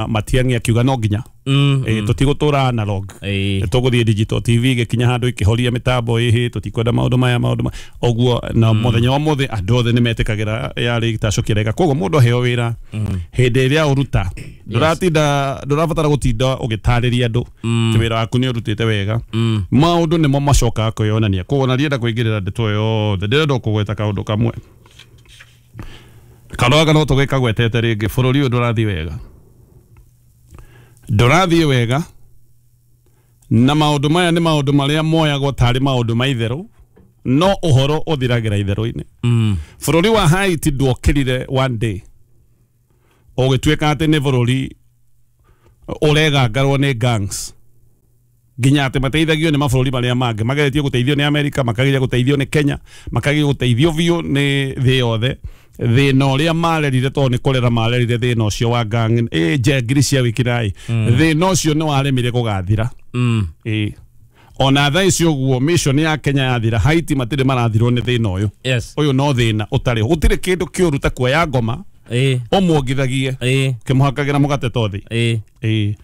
Matiang'i akiuga no nginya tũtigũtũra analog, tũgũthiĩ digital. TV gĩkinya handũ ikĩhoria mĩtambo ĩhĩ, tũtikwenda maũndũ maya, maũndũ ũguo. Na mũthenya wa mũthĩ andũ othe nĩ metĩkagĩra yarĩ gĩtacũ kĩrega. Koguo mũndũ aheo wĩra, hĩndĩ ĩrĩa ũruta, ndũratinda, ndũrabatara gũtinda ũgĩtarĩria andũ atĩ wĩra waku nĩ ũrutĩte wega. Maũndũ nĩmo macokaga kwĩyonania. Koguo na ndienda kũingĩrĩra ndeto ĩyo yothe, ndĩrenda kũgweta kaũndũ kamwe. Kaũndũ gaka no tũgĩkagwetete rĩngĩ. Bũrũri ũyũ ndũrathiĩ wega, ndũrathiĩ wega, na maũndũ maya nĩ maũndũ marĩa moyagwo tarĩ maũndũ ma itherũ, no ũhoro ũthiragĩra itherũ-inĩ. Bũrũri wa Haiti ndwokĩrire one day ũgĩtuĩka atĩ nĩ bũrũri ũregangarwo nĩ gangs, nginya atĩ mateithagio nĩ mabũrũri marĩa mangĩ. Mageretie gũteithio nĩ Amerika, makageria gũteithio nĩ Kenya, makageria gũteithio biũ nĩ thĩ yothe. Thĩna ũrĩa marerire, tondũ nĩ kũrera marerire thĩna ũcio wa gang, ĩ njengiri cia wĩkinaĩ, thĩna ũcio nĩ waremire gũgathira. Ĩ ona thaa ici ũguo mission ya Kenya yathira, Haiti matirĩ marathirwo nĩ thĩna ũyũ. Ũyũ no thĩna ũtarĩ ho. Gũtirĩ kĩndũ kĩũru ta kuoya ngoma ũmuongithagie kĩmũhakagĩra mũgate tothi. Ĩ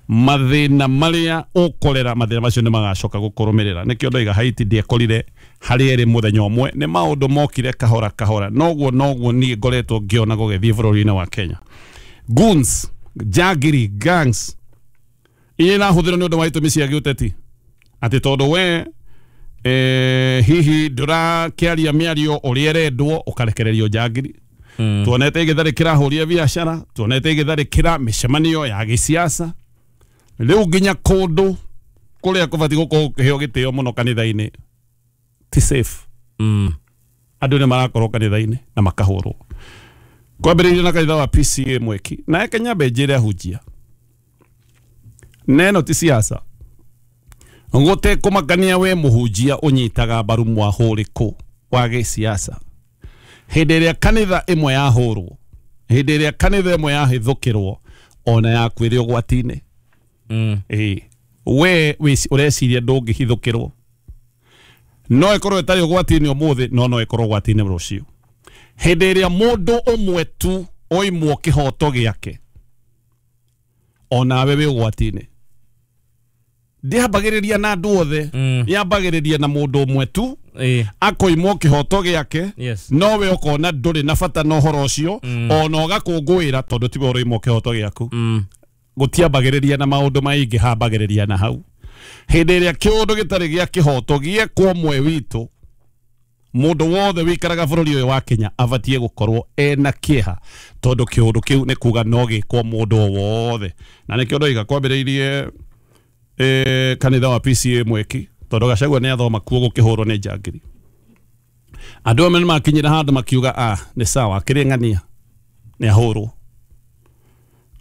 mathĩna marĩa ũkorera, mathĩna macio nĩ magacoka gũkũrũmĩrĩra. Nĩkĩo ndoiga Haiti ndiekorire harĩa ĩrĩ mũthenya ũmwe, nĩ maũndũ mokire kahora kahora. Noguo noguo niĩ ngoretwo ngĩona gũgĩthiĩ bũrũri-inĩ wa Kenya. Goons, njangiri, gangs iria irahũthĩrwo nĩ ũndũ wa itũmi cia gĩũteti, atĩ tondũ we hihi ndũrakĩaria mĩario ũrĩa ĩrendwo, ũkarekererio njangiri. Tuonete igĩtharĩkĩra ahũri a biacara, tuonete igĩtharĩkĩra mĩcemanio ya gĩsiasa, rĩu nginya kũndũ kũrĩa kũbatiĩ gũkorwo gũkĩheo gĩtĩo mũno, kanitha-inĩ, ti safe. Andũ nĩ marakorwo kanitha-inĩ na makahũrwo. Kwambĩrĩirie na kanitha wa PCA Mweki. Na eke nyambe njĩre ahunjia neno ti siasa, gũtekũmakania we mũhunjia ũnyitaga mbaru mwahũrĩkũ wa gĩsiasa. Hĩndĩ ĩrĩa kanitha ĩmwe yahũrwo, hĩndĩ ĩrĩa kanitha ĩmwe yahithũkĩrwo, ona yaku ĩrĩ ũgwati-inĩ. Ĩĩ, we ũreciria ndũngĩhithũkĩrwo, no ĩkorwo ĩtarĩ ũgwati-inĩ ũmũthĩ, no no ĩkorwo ũgwati-inĩ rũciũ. Hĩndĩ ĩrĩa mũndũ ũmwe tu oimwo kĩhoto gĩake, onawe wĩ ũgwati-inĩ. Ndĩambagĩrĩria na andũ othe, yambagĩrĩria na mũndũ ũmwe tu akoimwo kĩhoto gĩake. Nowe ũkona ndũrĩ na bata na ũhoro ũcio, ona ũgakũngũĩra tondũ tiwe ũroimwo kĩhoto gĩaku. Gũtiambagĩrĩria na maũndũ maingĩ, hambagĩrĩria na hau. Hĩndĩ ĩrĩa kĩũndũ gĩtarĩ gĩa kĩhoto gĩekwo ũmwe witũ, mũndũ wothe wĩikaraga bũrũri ũyũ wa Kenya abatiĩ gũkorwo ena kĩeha, tondũ kĩũndũ kĩu nĩ kuga no gĩkwo mũndũ o wothe. Na nĩkĩo ndoiga kwambĩrĩirie kanitha wa PCA Mweki, tondũ Gachagua nĩ athoma kuo gũkĩhũrwo nĩ njangiri. Andũ amwe nĩ makinyĩra handũ makiuga, "Ah, nĩ sawa, akĩrĩ ng'ania nĩ ahũrwo."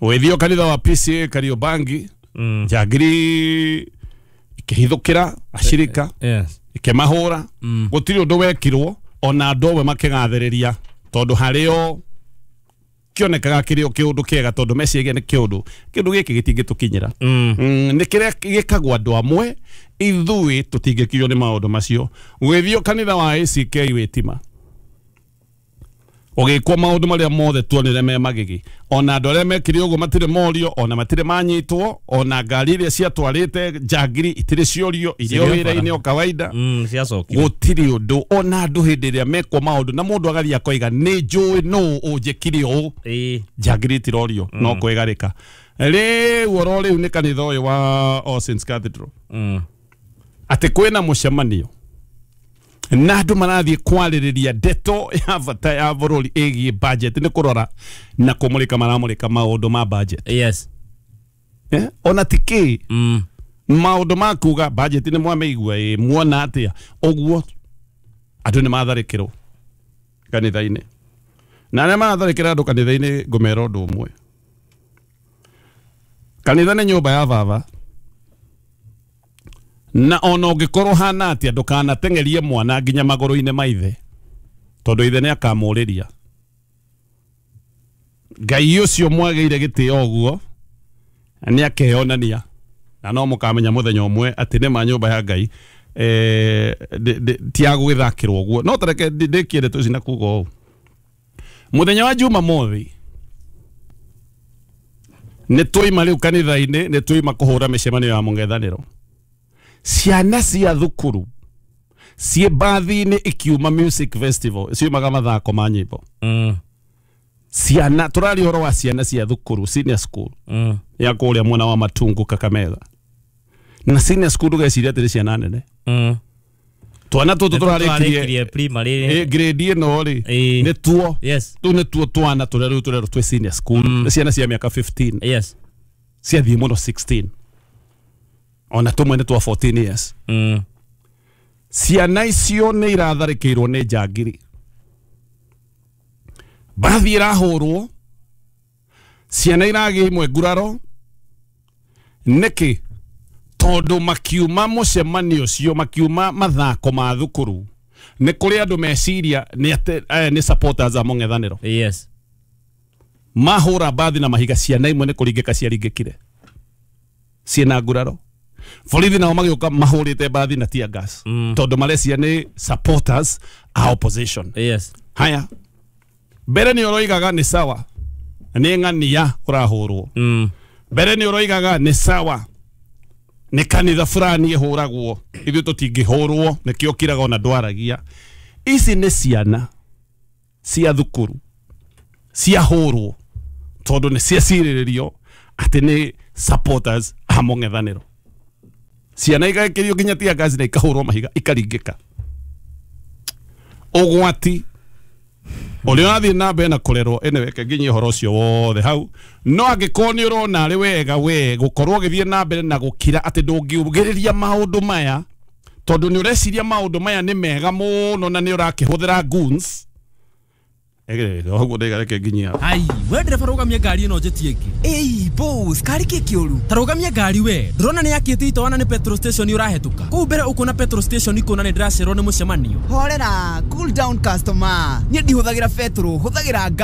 Ũgĩthiĩ kanitha wa PCA Kariobangi, njangiri ikĩhithũkĩra ashirika, ikĩmahũra. Gũtirĩ ũndũ wekirwo, ona andũ amwe makĩgathĩrĩria, tondũ harĩo kĩonekaga kĩrĩ o kĩũndũ kĩega, tondũ meciria nĩ kĩũndũ gĩkĩ gĩtingĩtũkinyĩra. Nĩ kĩrĩa gĩkagwo andũ amwe, ithuĩ tũtingĩkinywo nĩ maũndũ macio. Ũgĩthiĩ kanitha wa ACK Wĩtima, ũgĩkwo maũndũ marĩa mothe tuonire me magigi. Ona andũ arĩa mekire ũguo matirĩ morio, ona matirĩ manyitwo, ona ngari iria ciatwarĩte njangiri itirĩ ciorio, irĩ o Cirĩ o wĩra-inĩ bara. o kawaida. Ciacokire. Gũtirĩ ũndũ. Ona andũ hĩndĩ ĩrĩa mekwo maũndũ na mũndũ agathiĩ akoiga, "Nĩ njũĩ nũ ũnjĩkire ũũ," njangiri itirorio, no kwĩgarĩka. Rĩu oro rĩu nĩ kanitha ũyũ wa All Saints Cathedral, atĩ kwĩna mũcemanio na andũ marathiĩ kwarĩrĩria ndeto ya bata ya bũrũri ĩgiĩ budget, nĩ kũrora na kũmũrĩka maramũrĩka maũndũ ma budget. Eh? Ona ti kĩ maũndũ ma kuga budget nĩ mwamĩigua, ĩ muona atĩa ũguo. Andũ nĩ matharĩkĩrwo kanitha-inĩ, na arĩa maratharĩkĩra andũ kanitha-inĩ, ngũmera ũndũ ũmwe: kanitha nĩ nyũmba ya baba, na ona ũngĩkorwo hana atĩa, ndũkanateng'erie mwana nginya magũrũ-inĩ ma ithe, tondũ ithe nĩ akamũrĩria. Ngai ũcio mwagĩire gĩtĩo ũguo nĩ akeyonania, na no mũkamenya mũthenya ũmwe atĩ nĩ ma nyũmba ya Ngai ti ya gũgĩthakĩrwo ũguo. No tareke ndĩkie ndeto ici na kuga ũũ: mũthenya wa Jumamothi Nĩ twaima rĩu kanitha-inĩ, nĩ twaima kũhũra mĩcemanio ya mũng'ethanĩro. Ciana cia thukuru ciĩ mbathi-inĩ ikiuma music festival, ciumaga mathako ma nyĩmbo. Ciana, tũraria ũhoro wa ciana cia thukuru, senior school ya kũrĩa mwena wa Matungu, Kakamega. Na senior school ndũgeciria atĩ nĩ ciana nene. Twana tũtũ tũrarĩkirie primary grade ĩno rĩ, nĩ tuo. Tũu nĩ tuo twana tũrĩa rĩu tũrerwo twĩ senior school. Nĩ ciana cia mĩaka 15. Ciathiĩ mũno 16. Ona tũmwe nĩ twa 14 years. Ciana icio nĩ iratharĩkĩirwo nĩ njangiri. Mbathi ĩrahũrwo, ciana iragĩa imwe nguraro. Nĩkĩ? Tondũ makiuma mũcemanio ũcio, makiuma mathako ma thukuru, nĩ kũrĩ andũ meciria nĩ atĩ aya nĩ supporters a mũng'ethanĩro. Mahũra mbathi na mahiga, ciana imwe nĩ kũringĩka ciaringĩkire ciĩna nguraro. Borithi nao magĩũka mahũrĩte mbathi na tear gas, tondũ marecia nĩ supporters a opposition. Haya, mbere nĩ ũroigaga nĩ sawa, nĩ ng'ania ũrahũrwo. Mbere nĩ ũroigaga nĩ sawa, nĩ kanitha fulani ĩhũragwo, ithuĩ tũtingĩhũrwo, nĩkĩo kiraga ona ndwaragia. Ici nĩ ciana cia thukuru ciahũrwo tondũ nĩ ciacirĩrĩrio atĩ nĩ supporters a mũng'ethanĩro. Ciana igekĩrio nginya tear gas na ikahũrwo mahiga ikaringĩka. Ũgwati ũrĩa ũrathiĩ na mbere na kũrerwo, anyway, reke nginyie ũhoro ũcio wothe hau. No angĩkorwo nĩ ũrona arĩ wega we gũkorwo ũgĩthiĩ na mbere na gũkira atĩ ndũngiugĩrĩria maũndũ maya, tondũ nĩ ũreciria maũndũ maya nĩ mega mũno na nĩ ũrakĩhũthĩra goons. Ũguo ndaiga, reke nginyie hau. Ai, we ndereba, rũgamia ngari ĩno njĩtie ĩngĩ. Ĩi boss, kari kĩ kĩũru? Ta rũgamia ngari we. Ndũrona nĩ yakĩte itawa na nĩ petrol station ũrahĩtũka kũu mbere, ũkuona petrol station ikũna nĩ ndĩracererwo nĩ mũcemanio. Horera, cool down customer. Niĩ ndihũthagĩra betũrũ, hũthagĩra.